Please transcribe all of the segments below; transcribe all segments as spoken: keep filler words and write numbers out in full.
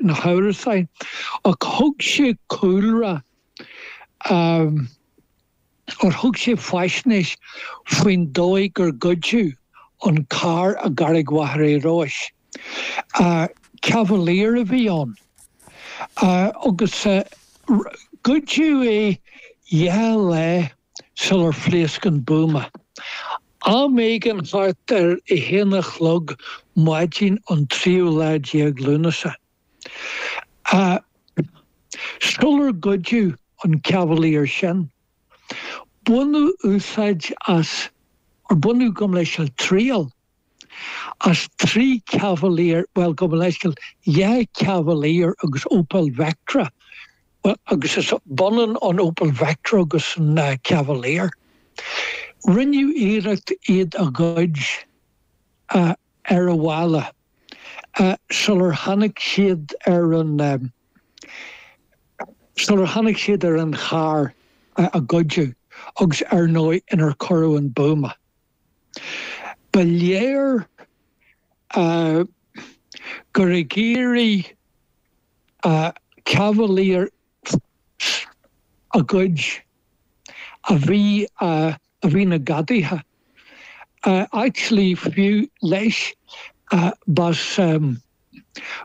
na hamhrasáin, ach thug sé cúlra um, or thug sé faisnéis faoin dóigh gur goideadh an carr i gCarraig Mhachaire Rois. Uh, Cavalier a bhí ann. Uh, agus uh, goideadh é dhá lá sular phléasc an buama. Am éigin thart ar a haon a chlog maidin an tríú lá déag Lúnasa. Uh, sular goideadh an Cavalier sin. Baineadh úsáid as or baineadh gabh mo leithscéal triail as trí Cavalier well gabh mo leithscéal dhá Cavalier agus Opel Vectra. Well, agus is b'ionann an Opel Vectra agus an uh, Cavalier. Rinneadh iarracht iad a ghoid uh, ar a bhaile uh, sular tháinig siad ar an um, sular tháinig siad ar an charr uh, a goideadh agus ar ndóigh inar cuireadh an buama. Ba léir uh, gur ag iarraidh uh, Cavalier a ghoid a bhí uh, a bhí na gadaithe. Uh, actually fiú leis uh, b'as um,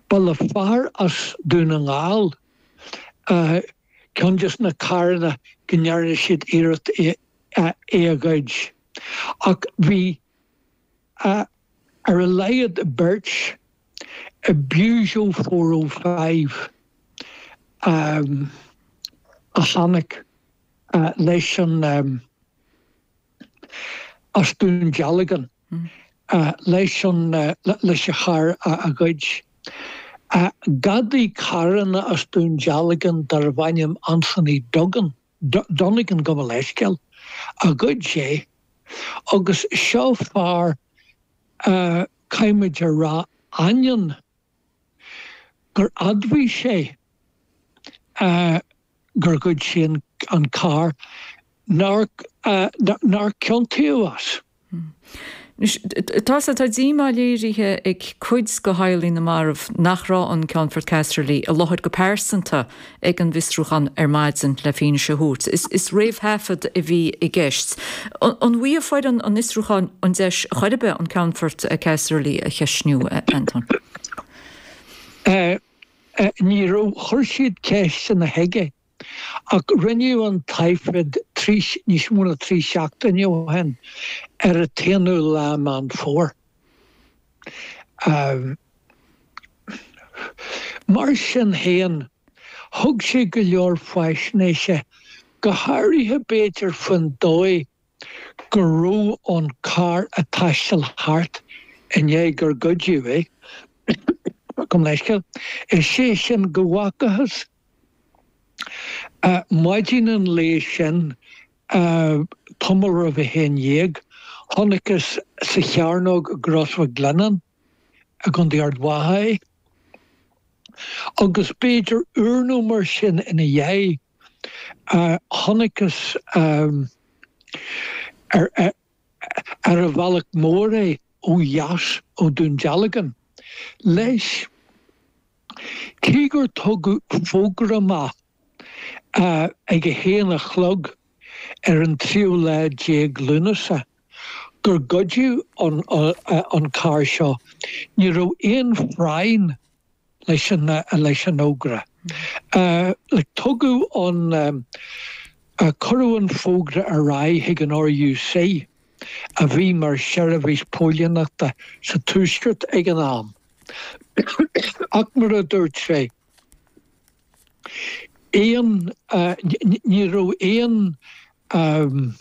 ba le fear as Dún na nGall uh, ceann de na carranna go ndearna siad iarracht é, uh, é a ghoid. Ach bhí uh, ar a laghad beirt i Peugeot four oh five um, a tháinig uh, leis an um, as Dún Dealgan mm. uh, leis an uh, leis an charr a, a ghoid. Uh, Gadaí carranna as Dún Dealgan darbh ainm Anthony Duggan, Donegan gabh mo leithscéal a ghoid sé agus seo fear uh, caithfimid a rá ainneoin gur admhaigh sé uh, gur ghoid sé an, an carr nár, uh, nár ciontaíodh as. Tá tá díomá léirithe ag cuid de theaghlaigh na marbh nach raibh an Ceannfort Casserly i láthair go pearsanta ag an bhfiosrúchán ar maidin le fianaise a thabhairt. Is, is réamhthaifead a bhí i gceist. An bhfuair foireann an fhiosrúcháin an deis chor ar bith an Ceannfort Casserly a cheistniú Anton? Uh, uh, ní raibh chuir siad ceisteanna chuige ach rinneadh an taifead trí níos mó ná trí seachtaine ó shin ar an t-aonú lá Meán Fómhair. Um, mar sin féin thug sé go leor faisnéise go háirithe b'fhéidir faoin dóigh go raibh an carr ag taisteal thart i ndiaidh gur goideadh é. Gabh mo leithscéal. Is sé sin go bhfacthas uh, maidin an lae sin uh, tamall roimh a haon déag, chonacthas sa chearnóg i gCros Mhic Lionnáin i gContae Ard Mhacha é. Agus b'fhéidir uair nó mar sin ina dhiaidh uh, chonacthas um, ar, ar, ar an bhealach mór é ó dheas ó Dún Dealgan. Leis, cé gur tugadh fógra amach uh, ag a haon a chlog ar an tríú lá déag Lúnasa gur goideadh an, uh, an carr seo, ní raibh aon phráinn leis an, uh, leis an fhógra. Uh, le tugadh an um, uh, cuireadh an fógra ar aghaidh chuig an R U C a bhí mar seirbhís póilíneachta sa tuaisceart ag an am. Ach mar a dúirt sé aon uh, ní raibh aon um,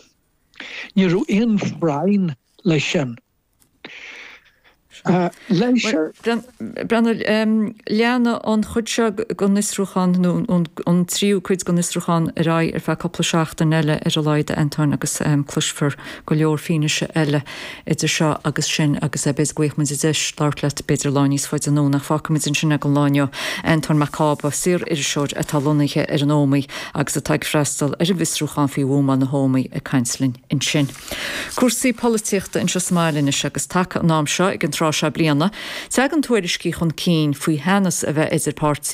ní raibh aon phráinn leis sin. Uh, leis Breandán leanfaidh an chuid seo den fhiosrúchán nó an tríú cuid den fhiosrúchán ar aghaidh ar feadh cúpla seachtain eile ar a laghad Anton agus um, cloisfear go leor fianaise eile idir seo agus sin agus b'fhéidir go bhfaighidh muid deis labhairt leat b'fhéidir lá níos faide anonn ach fágfaimid ansin é don lá inniu Anton Mac Cába saoririseoir atá lonnaithe ar an Ómaigh agus atá ag freastal ar an bhfiosrúchán faoi bhuamáil na hÓmaí ag caint linn ansin. Cúrsaí polaitíochta anseo sa mbaile anois agus taca an am seo ag an tráth sé bliana. Tagann tuairiscí chun cinn faoi theannas a bheith idir páirtí